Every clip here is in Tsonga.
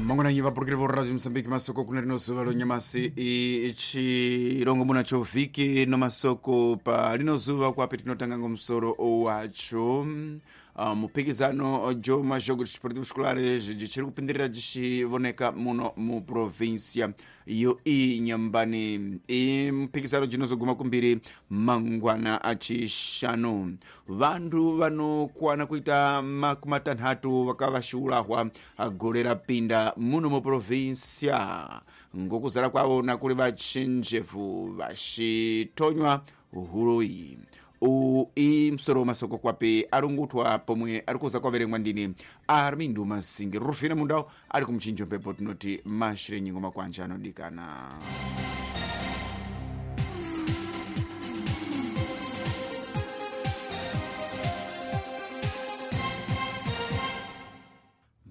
Mangwananyi vapurukiri vo Radio Mozambique, masoko kuna rino zuva lonyamasi ichirongomuna cho vhiki no masoko pa lino zuva kwapi tinotanga ngomusoro wacho. Muphikizano jo majogos desportivos escolares jichiri kupindirira jichivoneka muno mu província yo Inhambane. I muphikizano jinozoguma kumbiri mangwana achishanu. Vantu vanokwana kuita makumi matanhatu vakavashiulahwa gore rapinda muno mu província ngokuzara kwavo nakuri vachenjevu vachitonywa huroyi. I musoro wamasoko kwapi arungutwa pomwe ari kuza kwaverengwa ndini Armindo Masingi Rufina Mundau ari kumuchinjo mpepo. Tinoti mashire nyingo makwanja anodikana.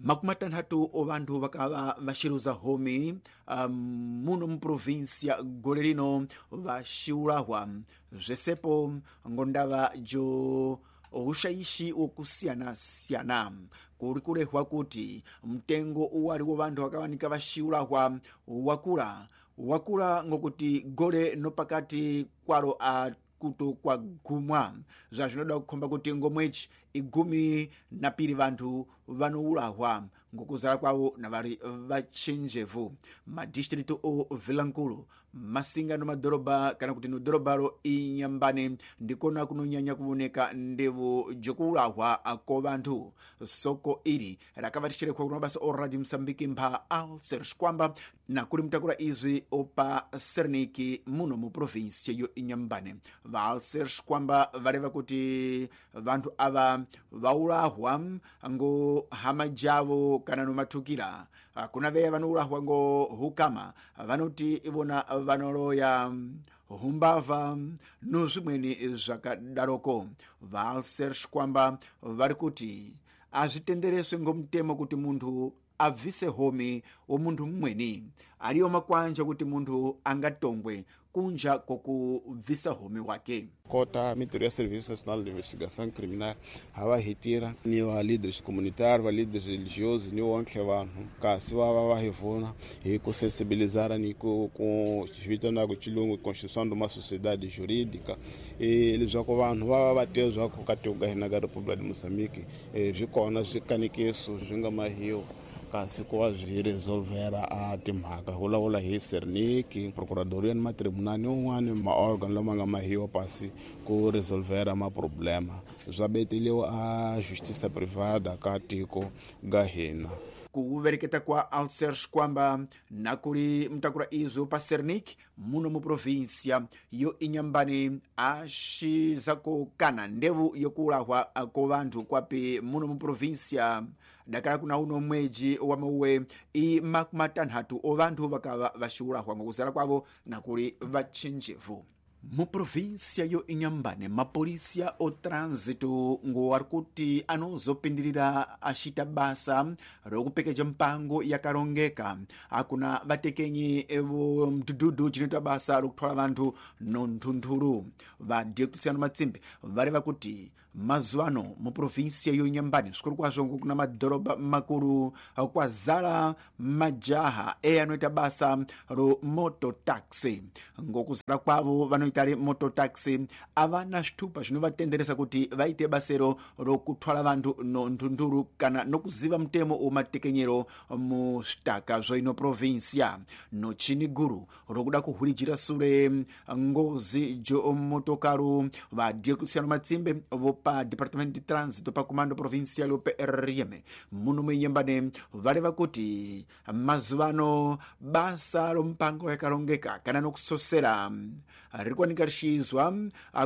Makumi matanhatu ovantu vakava vaxiruza homi muno muprovinsia gore rino vaxiulahwa zvesepo ngondava jo ushaishi wokusiyana-siyana. Kuri kurehwa kuti mtengo uwali wo vanthu vakawanika vaxiulahwa wakula wakula ngokuti gole nopakati kwalo a kuto kwagumwa, zvazvinoda kukhomba kuti ngomwechi igumi na piri vanthu vanoulahwa ngokuzala kwavo na vari vachenjevu. Madistritu o Vilankulu, Masinga no madhorobha kana kuti no dhorobharo Inhambane ndikona kunonyanya kuvoneka ndevo jokuulahwa ko vanthu. Soko iri rakavatishirekwa kuna mabasa o Radio Mozambique mpha Alcer Xikwamba na kuri mutakura izwi opa Serniki muno mu província yo Inhambane. Va Alcer Xikwamba vareva kuti vanthu ava vaulahwa ngo hama javo kana nomathukira. Kuna veya vanoulahwa ngo hukama vanoti ivona vanoloya humbavha no zvimweni zvakadaroko. VaAlcer Xikwamba vari kuti azvitendereswe ngomutemo kuti munthu abvise homi womunthu mumweni. Ariyo makwanja kuti munthu angatongwe kunja kokubvisa homi wake. Kota mintirho ya Serviço Nacional de Investigação Criminal ha va hi tirha ni va leaders communitaires, va leaders religiosos ni wonke vanhu kasi va va va hi pfuna hi ku sensibilizara ni ku vitanaka xilungu construção de uma sociedade jurídica, leswaku vanhu va va va tiva leswaku ka tiko ka hina ka República de Moçambique swi kona swikanekiso swi nga mahiwa kasi ku va byi resolvera a timhaka vulavula hi Serniki, procuradoria ni matribunal un'wani maorgan lama nga mahiwa pasi ku resolvera maproblema swa beteliwa a justiça privada ka tiko ga hina. Kuvereketa kwa Alcer Xikwamba na kuri mutakura izwo pa Sernik muno mu província yo Inhambane axizakukana ndevu yokulahwa ko vanthu kwapi muno mu província dakala kuna uno mweji wa mauwe i makumi matanhatu o vanthu vakava vaxiulahwa ngokuzala kwavo na kuli vachenjevu. Mu província yo Inhambane mapolisia o trânsito ngo ari kuti anozopindirira axita basa rokupekeja mpango yakarongeka akuna vatekenyi vo mdhudhudhu cinoita basa rokuthwala vanthu no nthunthuru. Va Diocleciano Matsimbi vareva kuti mazuva ano mu província yo Inhambane zvikuru kwazvo kuna madhorobha makuru kwazala majaha e anoita basa ro mototaxi. Ngokuzala kwavo vanoita mototaxi avana zvitupa zvinovatenderesa kuti vaite basero rokuthwala vanthu no nthunthuru kana nokuziva mutemo womatekenyero mu zvitaka zvoino província. No chini guru rokuda kuhwirijira sure ngozi jo motokaru va Diocleciano Matsimbe vopa Departamento de Trânsito pa Comando Provincial PRM muno muInhambane vareva kuti mazuva ano basa rompango yakarongeka kana nokusosera riri kuwanika richiizwa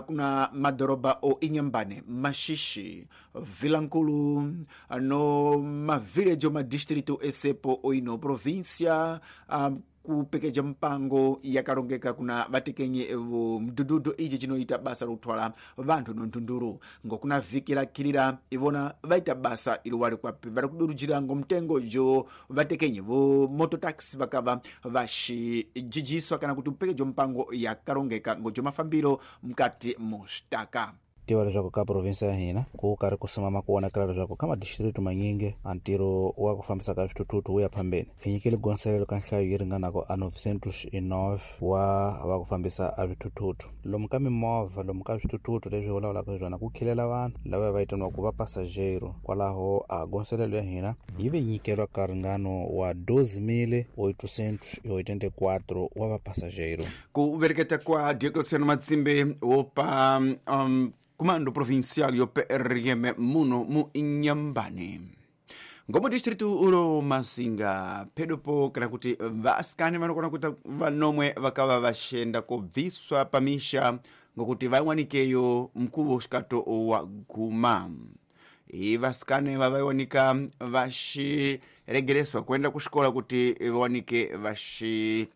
kuna madhorobha o Inhambane, Maxixe, Vilankulu no mavhileji omadistritu esepo oino província kupekeja mpango yakarongeka kuna vatekenyi vo mdhudhudhu ichi chinoita basa rokuthwala vanthu nonthunduru. Ngokuna vhiki rakhirira ivona vaita basa iri wari kwapi vari kudurujira ngomtengo jo vatekenyi vo mototaxi vakava vaxijijiswa kana kuti kupekejwa mpango yakarongeka ngojo mafambiro mukati mu zvitaka. Tiva leswaku ka provinsi ya hina ku karhi ku simama ku vonakala leswaku ka madistrikti manyingi a ntirho wa ku fambisa ka swithuthuthu wu ya phambeni. Hi nyikile gonselelo ka nhlayo yi ringanaka a 909 wa va ku fambisa a swithuthuthu lomu ka mimovha, lomu ka swithuthuthu leswi hi vulavulaka hi swona ku khilela vanhu lava va vitaniwaka va pasajero. Kwalaho a gonselelo ya hina yi ve nyikelwa ka ringano wa 12.884 wa va pasajero. Ku vereketa kwa Diocleciano Matsimbe wopa Comando Provincial yo PRM muno mu Inhambane. Ngomo distritu ulo Masinga pedopo kana kuti vasikane vanokona kuita vanomwe vakava vaxenda kubviswa pamisha ngokuti vaiwanikeyo mkuvo xikato wa guma. I vasikane vavaiwanika vaxiregereswa kuenda kuxikola kuti vawanike vaxigala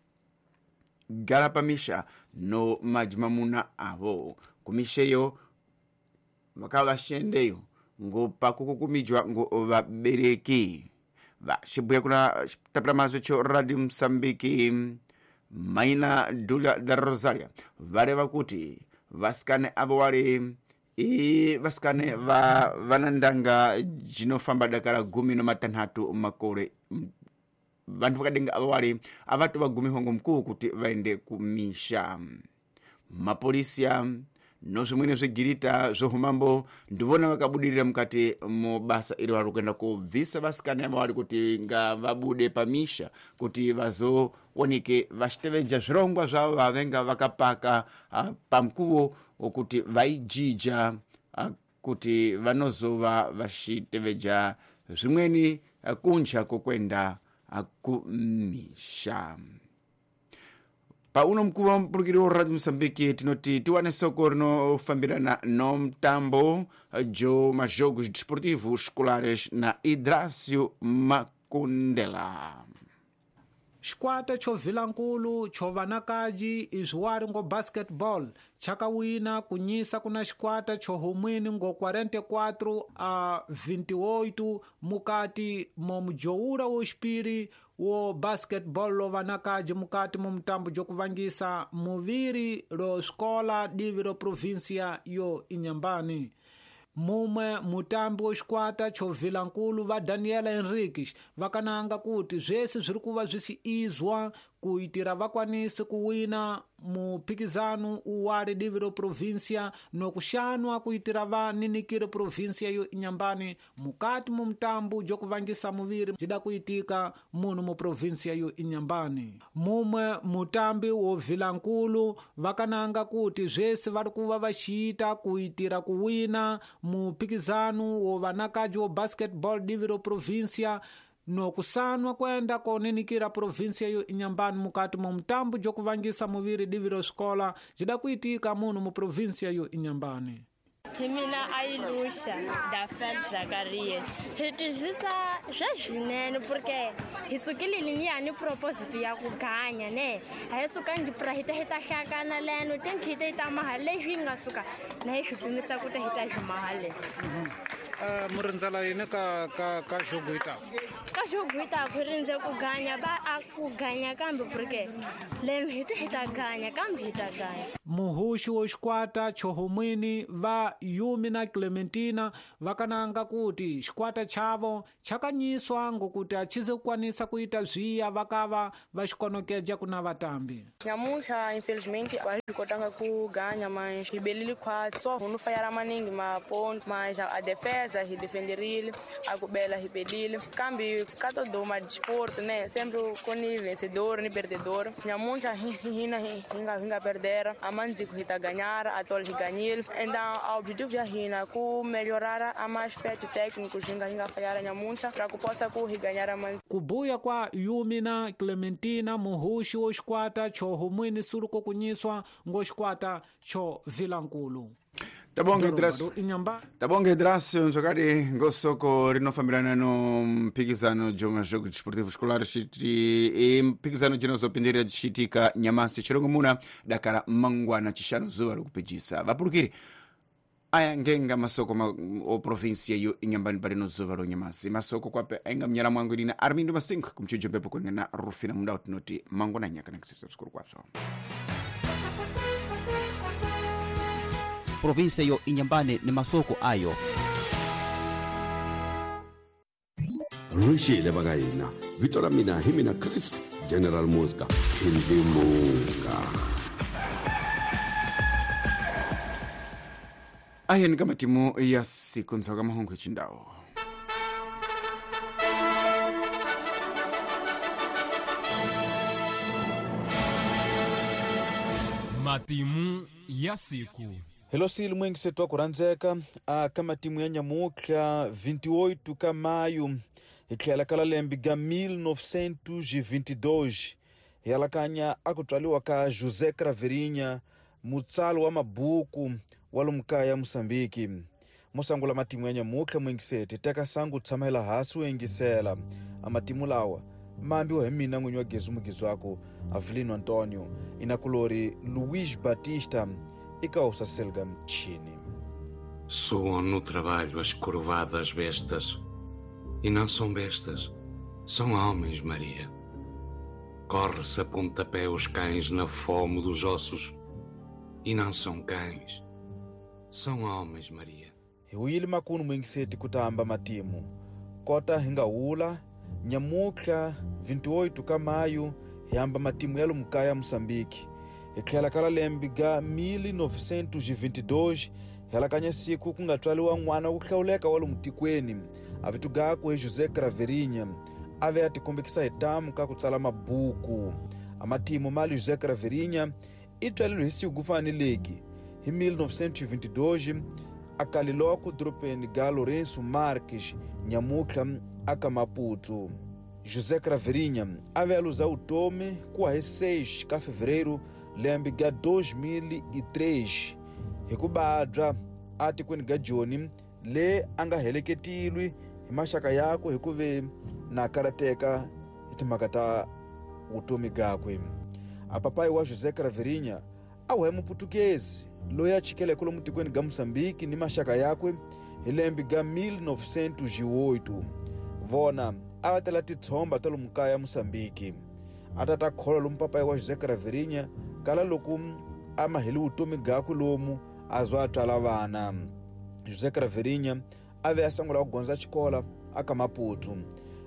pamisha no majimamuna avo. Kumisheyo vakava vaxendeyo ngo pakukukumijwa ngo vabereki. Vaxibuya kuna tapela mazwe cho Radio Msambiki Maina Dula da Rosaria vareva kuti vasikane avo wali i vasikane va vanandanga jinofamba dakara 16 makore. Vantu vakadenga avo wali avatu vagumiwa ngo mkuu kuti vaende kumisha. Mapolisia no zvimweni zvegirita zvohumambo ndivona vakabudirira mukati mubasa iri vari kuenda kubvisa vasikane ava vari kuti ngavabude pamisha kuti vazooneke vachitevedza zvirongwa zvavo vavenga vakapaka pamukuvo wokuti vaijija kuti vanozova vachitevedza zvimweni kunja kwokuenda kumisha. Pauno mkuu wa mpulukiri wa Radio Msambiki tinoti tiwane soko rinofambirana no mtambo jo majogos desportivos escolares na Idrácio Makundela. Xikwata xo Vilankulu xo vanakaji izwiwari ngo basketball chakawina kunyisa kuna xikwata xo Humwini ngo 44-28 mukati mo mujowura wo xipiri wo basketball lo vanakaji mukati mu mutambo jokuvangisa muviri lo xikola divi ro provinsia yo Inhambane. Mumwe mutambi wo xikwata xo Vilankulu va Daniela Henriques vakananga kuti zvese zviri kuva zvisiizwa kuitira vakwanise kuwina muphikizano uwali divi ro provinsia nokuxanwa kuitira vaninikire provinsia yo Inhambane mukati mu mutambo jokuvangisa muviri jida kuitika muno mu provinsia yo Inhambane. Mumwe mutambi wo Vilankulu vakananga kuti zvese vari kuva vaxiita kuitira kuwina muphikizano wo vanakaji wo basketball divi ro provinsia nokusanwa kwenda koninikira provinsia yo Inhambane mukati mu mutambo jokuvangisa muviri divi ro xikola jida kuitika muno mu provinsia yo Inhambane. Hi mina Ailusha Dafel Zacarias. Hi twisisa swa swinene porque hi sukile ni proposito ya ku ganya ne. A hi sukangi pra hi ta hi ta hlakana leno tinkhite hi ta mahala leswi nga suka na hi swi pimisa ku ta hi ta swi mahala. Murindzela yini ka ka ka xoguita? Ka xoguita ku rindze ku ganya ba a ku ganya kambe porque leno hi ta hi ta ganya kambe hi ta ganya. Muhuxi wo xikwata xo Humwini va Yumi na Clementina vakananga kuti xikwata chavo chakanyiswa ngokuti achize kukwanisa kuita zviya vakava vaxikonokeja kuna vatambi. Nyamuxa infelizmente a swi kotanga ku ganya mas hi belile khwatsi so hunu fayara maningi maponto mas a defesa hi defenderile a ku bela hi belile kambe ka todo ma desporto né sempre com ni vencedor ni perdedor. Nyamuxa hina hi nga perdera amanzi hi ta ganhar atol hi ganhile. Então o objetivo ya hina ku melhorar ama aspecto técnico hinga falhar nyamuxa para que possa ku hi ganhar amanzi. Kubuya kwa Yumi na Clementina muhuxi wo xikwata xo Humwini suluko kunyiswa ngo xikwata xo Vilankulu. Tabonga Idrácio mzwakadi ngosoko rinofambirana no mphikizano jo majogos desportivos escolares e mphikizano jinozopindirira dzichiitika nyamasi chirongomuna dakara mangwana chishanu zuva rokupejisa. Vapurukiri aya ngenga masoko o provinsia yo Inhambane parino zuva ro nyamasi. Masoko kwape ainga mnyala mwangu nina Armindo Masinga kumchujo mpepo kwenga na Rufina mundau tinoti mangwana nyaka nakisisa msukuru kwazvo. Província yo Inhambane ni masoko ayo. Rixile va ka hina, vito ra mina hi mina Chris General Muzka Khindlimunga. Ayeni ka matimu ya siku ntshoka mahungu hi. Matimu ya siku. Hello sili mwingisetu wa kurhandzeka aka matimu ya nyamutlha 28 ka mayu hi tlhela ka lembe ga 1922 hi alakanya a ku tswaliwa ka José Craveirinha, mutsali wa mabuku wa lomu kaya Mosambiki. Mosangula matimu ya nyamutlha mwingiseti teka sangu tshamela hasi u yingisela a matimu lawa mambiwa hi mina n'winyi wa Gezu Mugizwako Avelino Antonio inakulori Luís Batista e calça selga mchini. Soam no trabalho as curvadas bestas. E não são bestas, são homens, Maria. Corre-se a pontapé os cães na fome dos ossos. E não são cães, são homens, Maria. Hiwili makunu mwingiseti kutamba matimu. Kota hingaula, nyamutlha 28 ka mayu hihamba matimu ya lumukaya Mosambiki. Hi tlhela ka lembe ga 1922 hi alakanya siku ku nga tswaliwa n'wana wo hlawuleka wa lomu tikweni a vito gakwe José Craveirinha a ve a tikombekisa hi tamu ka ku tsala mabuku. A matimu mali José Craveirinha i tswaleriwe hi siku ku fana ni legi hi 1922 a kaliloko doropeni ga Lourenço Marques nyamutlha aka Maputo. José Craveirinha a ve a luza vutomi ku wa hi 6 ka fevereiro lembe ga 2003 hi ku badya a tikweni ga Joni le a nga heleketilwi hi maxaka yakwe hi ku ve na karateka hi timhaka ta vutomi gakwe. A papai wa José Craveirinha a wu muputukezi loyi a chikeleke lomu tikweni ga Mosambiki ni maxaka yakwe hi lembe ga 1908. Vona a va tela titshomba ta lomu kaya Mosambiki. A tata khola lomu papai wa José Craveirinha kala loko a maheli vutomi gakwe lomu a zwa a tswala vana. José Craveirinha a ve a sungula ku gondza xikola aka Maputo.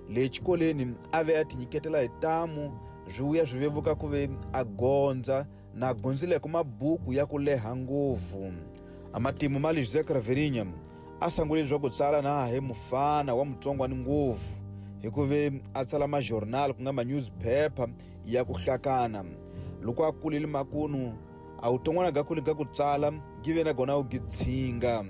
Le xikoleni a ve a tinyiketela hi tamu swi vuya swi vevuka ku ve a gondza na gondzileko mabuku ya ku leha ngopfu. A matimu mali José Craveirinha a sungule swa ku tsala na hi mufana wa mutsongwani ngopfu hi ku ve a tsala majournal ku nga ma newspaper ya ku hlakana. Loko a kulile makunu a wuton'wana ga kule ga ku tsala give na gona u gitsinga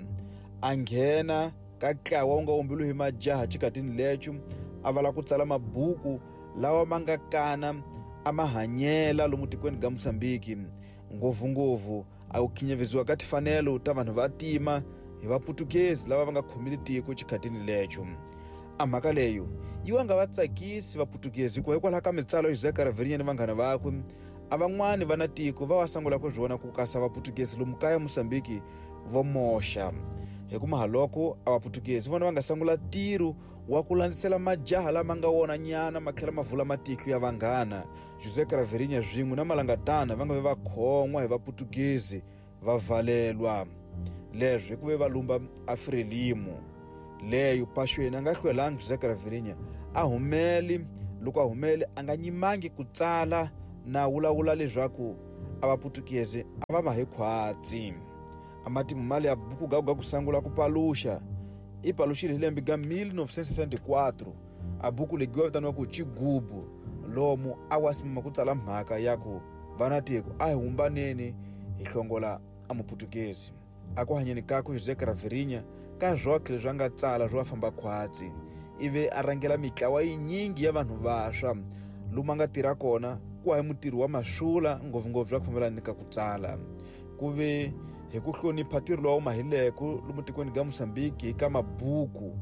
a nghena ka ntlawa wu nga umbiwi hi majaha xikatini lecho a vala ku tsala mabuku lawa ma nga kana a ma hanyela lomu tikweni ga Mosambiki. Ngopfungopfu a ku khinyavisiwa ka tifanelo ta vanhu va tima hi vaputukezi lava va nga khomile tiko xikhatini lecho. A mhaka leyo yi wa nga va tsakisi vaputukezi hikuva hikwalaho ka mitsalo ya José Craveirinha ni vanghana vakwe a van'wani va na tiko va wa sungula ku swi vona ku kasa vaputukezi lomu kaya Mosambiki vo moxa. Hi ku mahaloko a vaputukezi vona va nga sungula ntirho wa ku landzisela majaha lama nga wona nyana ma tlhela ma vula matiko ya vanghana. José Craveirinha swin'we na malangatana va nga ve va khon'wa hi vaputukezi va valelwa. Leswi hi ku ve va lumba a Frelimo leyo paxweni a nga hlwelangi José Craveirinha a humeli. Loko a humele a nga nyimangi ku tsala na vulavula leswaku a vaputukezi a va ma hi khwatsi. A matimu mali ya buku ga ku sungula ku paluxa i paluxile hi lembe ga 1964 a buku leyi vitaniwa ku Chigubu lomu a wa simama ku tsala mhaka ya ku vana tiko a hi humbaneni hi hlongola a muputukezi. A ku hanyeni kakwe José Craveirinha ka zwokhe leswi a nga tsala swo va famba khwatsi ivi a rhangela mitlawa yinyingi ya vanhu vaswa lomu a nga tirha kona ku hi mutirhi wa maswula ngopfungopfu swa ku fambelana ni ka ku tsala. Ku ve hi ku hlonipha ntirho lowu mahileko lomu tikweni ga Mosambiki ka mabuku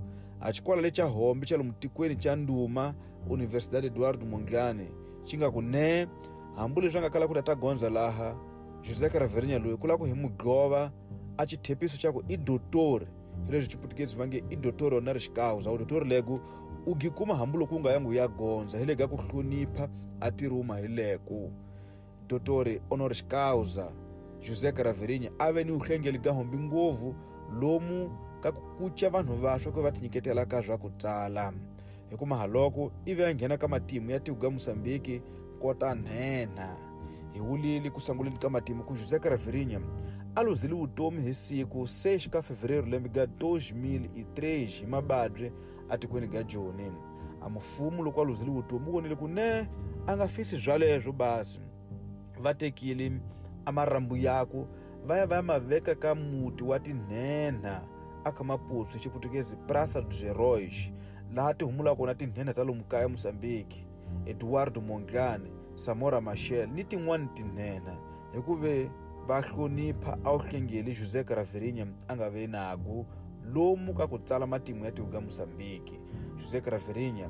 a xikwala lexa hombe xa lomu tikweni xa nduma Universidade Eduardo Mondlane xi nga ku ne hambi leswi a nga kala ku ta gondza laha José Craveirinha loyi ku lava ku hi mugova a xithepiso xa ku i dotori hi leswi xiputukezi va nge i dotori honoris causa. U dotori leko u gi kuma hambi loko u nga yangi u ya gondza hi le ka ku hlonipha a tirhi u mahileko. Dotori honoris causa José Craveirinha a ve ni uhlengeli ga hombi ngopfu lomu ka ku kuca vanhu vaswa ku va tinyiketela ka swa ku tsala. Hi ku mahaloko ivi a nghena ka matimu ya tiko ga Mozambique kota nhenha. Hi wulile ku sunguleni ka matimu ku José Craveirinha a luzile vutomi hi siku 6 ka fevereiro lembe ga 2003 hi mababye atikweni ga Joni. A mufumu loko a luzile vutomi u vonile ku ne a nga fisi swaleswo basi. Va tekile a marhambu yaku va ya va ya ma veka ka muti wa tinhenha aka Maputo hi Xiputukezi Praça dos Heróis, laha ti humulaka kona tinhenha ta lomu kaya Mozambique, Eduardo Mondlane, Samora Machel ni tin'wani tinhenha, hikuve va hlonipha a wu hlengeli José Craveirinha a nga ve naku lomu ka ku tsala matimu ya tiko ga Mozambique. José Craveirinha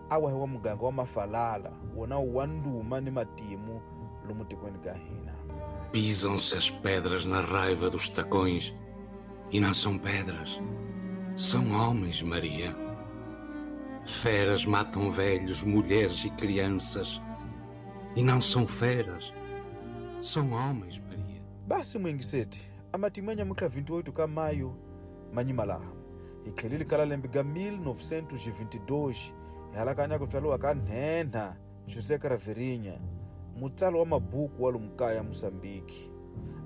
a wahiwa muganga wa Mafalala, wona wa nduma ni matimu lomu tikweni ga hina. Pisam-se as pedras na raiva dos tacões, e não são pedras, são homens, Maria. Feras matam velhos, mulheres e crianças, e não são feras, são homens, Maria. Basi mwingiseti, amatimu ya nyamuka 28 ka maio manyimalaha. Hi tlhelile ka lembe ga 1922 hi halakanya ku tswariwa ka nhenha José Craveirinha, mutsali wa mabuku wa lomu kaya Mozambique.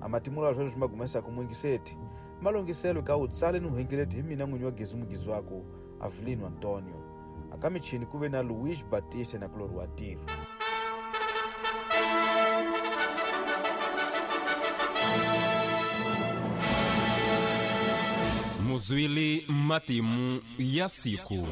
Amatimu lawa sweswi ma gumesaka mwingiseti malongiselo ka wu tsale ni uhengeleti hi mina n'winyi wa Gezi Mugizi wako Avelino Antonio. Aka michini ku ve na Luiz Batista na Kulori wa Tiro. Muzwili matimu ya siku.